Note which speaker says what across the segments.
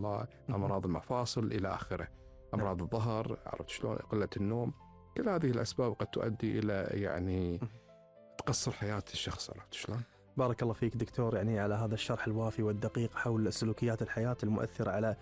Speaker 1: الله، أمراض المفاصل إلى آخره، أمراض الظهر، عرفت شلون، قلة النوم. كل هذه الأسباب قد تؤدي إلى يعني تقصر حياة الشخص، عرفت شلون.
Speaker 2: بارك الله فيك دكتور، يعني على هذا الشرح الوافي والدقيق حول سلوكيات الحياة المؤثرة على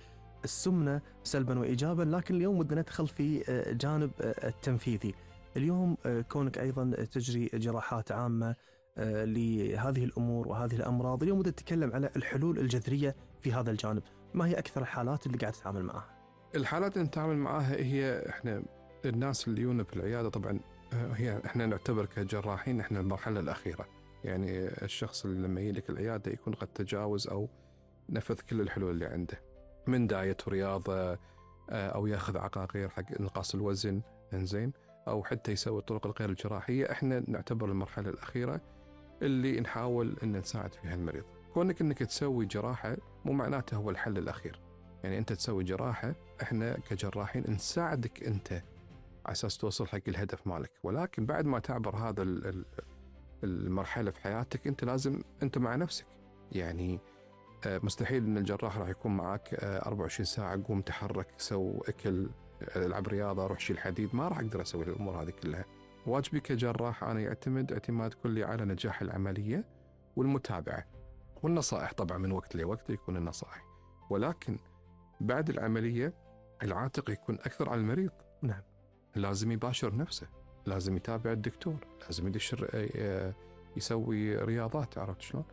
Speaker 2: السمنة سلبا وإيجابا. لكن اليوم بدنا ندخل في جانب التنفيذي. اليوم كونك أيضا تجري جراحات عامة لهذه الأمور وهذه الأمراض، اليوم بدنا نتكلم على الحلول الجذرية في هذا الجانب. ما هي أكثر الحالات اللي قاعد تتعامل معها؟
Speaker 1: الحالات اللي نتعامل معها هي إحنا الناس اللي يجون في العيادة، طبعا هي إحنا نعتبر كجراحين إحنا المرحلة الأخيرة. يعني الشخص اللي لما يجيلك العيادة يكون قد تجاوز أو نفذ كل الحلول اللي عنده، من دايت ورياضة أو يأخذ عقاقير حق إنقاص الوزن، إنزين، أو حتى يسوي الطرق الغير الجراحية. إحنا نعتبر المرحلة الأخيرة اللي نحاول إن نساعد فيها المريض. كونك إنك تسوي جراحة مو معناته هو الحل الأخير. يعني أنت تسوي جراحة، إحنا كجراحين نساعدك أنت على أساس توصل حق الهدف مالك، ولكن بعد ما تعبر هذا المرحلة في حياتك أنت لازم أنت مع نفسك. يعني مستحيل أن الجراح راح يكون معك 24 ساعة قوم تحرك، سو أكل، العب رياضة، روح شيل حديد. ما راح أقدر أسوي الأمور هذه كلها. واجبي كجراح أنا يعتمد اعتماد كلي على نجاح العملية والمتابعة والنصائح. طبعا من وقت لوقت يكون النصائح، ولكن بعد العملية العاتق يكون أكثر على المريض.
Speaker 2: نعم.
Speaker 1: لازم يباشر نفسه، لازم يتابع الدكتور، لازم يسوي رياضات، عرفت شلون،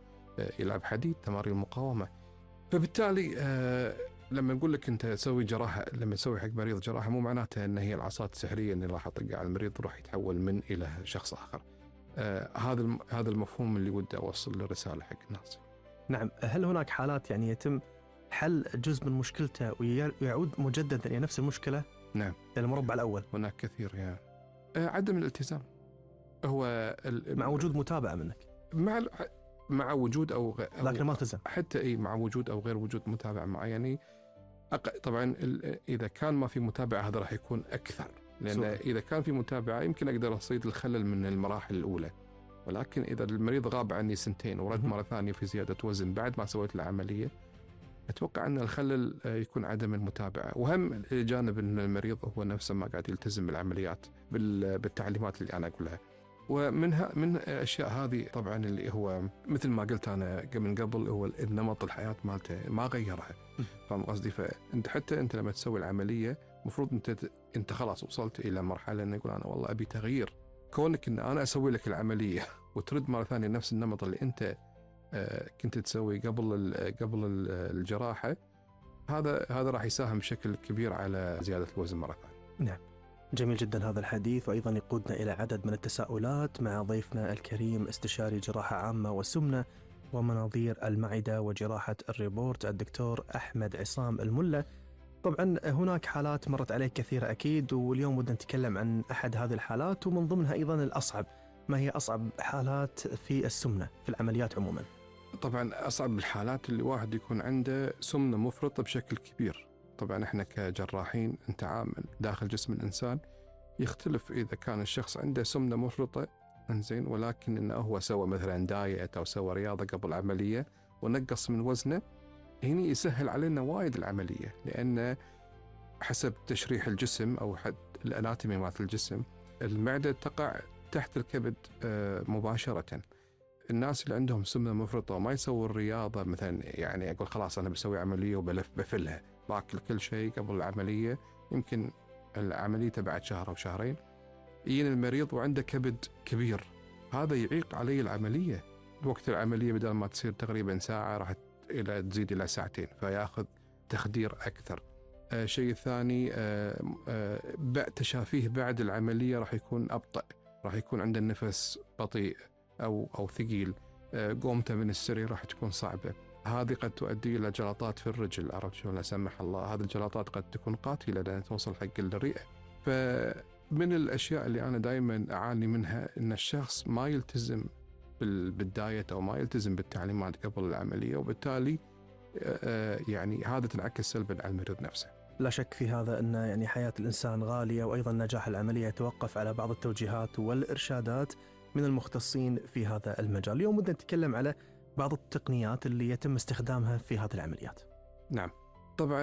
Speaker 1: يلعب حديد، تمارين مقاومة. فبالتالي لما نقول لك أنت تسوي جراحة، لما تسوي حق مريض جراحة مو معناته أن هي العصات السحرية اللي راح تطق على المريض وراح يتحول من إلى شخص آخر. هذا المفهوم اللي ودي أوصل للرسالة حق الناس.
Speaker 2: نعم. هل هناك حالات يعني يتم حل جزء من مشكلته ويعود مجددا إلى نفس المشكلة؟
Speaker 1: نعم.
Speaker 2: المربع الأول.
Speaker 1: هناك كثير يعني عدم الالتزام. هو
Speaker 2: مع وجود متابعة منك،
Speaker 1: مع وجود
Speaker 2: لكن ما التزم.
Speaker 1: حتى مع وجود أو غير وجود متابعة معه. يعني طبعا إذا كان ما في متابعة هذا راح يكون أكثر، لأن إذا كان في متابعة يمكن أقدر أصيد الخلل من المراحل الأولى. ولكن إذا المريض غاب عني سنتين ورد مرة ثانية في زيادة وزن بعد ما سويت العملية، أتوقع أن الخلل يكون عدم المتابعة. وهم جانب أن المريض هو نفسه ما قاعد يلتزم بالعمليات بالتعليمات اللي أنا أقولها. من الأشياء هذه طبعا اللي هو مثل ما قلت أنا من قبل، هو النمط الحياة مالته ما غيرها. فاهم قصدي؟ فأنت حتى أنت لما تسوي العملية مفروض أنت خلاص وصلت إلى مرحلة أن يقول أنا والله أبي تغيير. كونك أن أنا أسوي لك العملية وترد مرة ثانية نفس النمط اللي أنت كنت تسوي قبل الجراحة، هذا راح يساهم بشكل كبير على زيادة الوزن مرة ثانية.
Speaker 2: نعم. جميل جدا هذا الحديث، وأيضا يقودنا إلى عدد من التساؤلات مع ضيفنا الكريم استشاري جراحة عامة وسمنة ومناظير المعدة وجراحة الريبورت الدكتور أحمد عصام الملا. طبعا هناك حالات مرت عليك كثيرة أكيد، واليوم بدنا نتكلم عن أحد هذه الحالات ومن ضمنها أيضا الأصعب. ما هي أصعب حالات في السمنة في العمليات عموما؟
Speaker 1: طبعا أصعب الحالات اللي واحد يكون عنده سمنة مفرطة بشكل كبير. طبعا احنا كجراحين نتعامل داخل جسم الإنسان، يختلف إذا كان الشخص عنده سمنة مفرطة انزين ولكن إنه هو سوى مثلا دايت أو سوى رياضة قبل العملية ونقص من وزنه، هنا يسهل علينا وايد العملية، لأن حسب تشريح الجسم أو حد الأناتومي مالت الجسم، المعدة تقع تحت الكبد مباشرة. الناس اللي عندهم سمنة مفرطة وما يسووا الرياضة مثلا، يعني أقول خلاص أنا بسوي عملية بفلها، باكل كل شيء قبل العملية، يمكن العملية بعد شهر أو شهرين يجينا المريض وعنده كبد كبير، هذا يعيق عليه العملية. وقت العملية بدل ما تصير تقريبا ساعة راح تزيد إلى ساعتين، فيأخذ تخدير أكثر. شيء ثاني تشافيه بعد العملية راح يكون أبطأ، راح يكون عنده النفس بطيء أو ثقيل، قومته من السرير راح تكون صعبة. هذه قد تؤدي إلى جلطات في الرجل، عرفت شلون، لا سمح الله. هذه الجلطات قد تكون قاتلة لأن توصل حق الرئة. فمن الأشياء اللي أنا دائما أعاني منها إن الشخص ما يلتزم بالدايت أو ما يلتزم بالتعليمات قبل العملية، وبالتالي يعني هذا تنعكس سلبا على المريض نفسه.
Speaker 2: لا شك في هذا أن يعني حياة الإنسان غالية، وأيضا نجاح العملية يتوقف على بعض التوجيهات والإرشادات من المختصين في هذا المجال. اليوم بدنا نتكلم على بعض التقنيات اللي يتم استخدامها في هذه العمليات.
Speaker 1: نعم. طبعا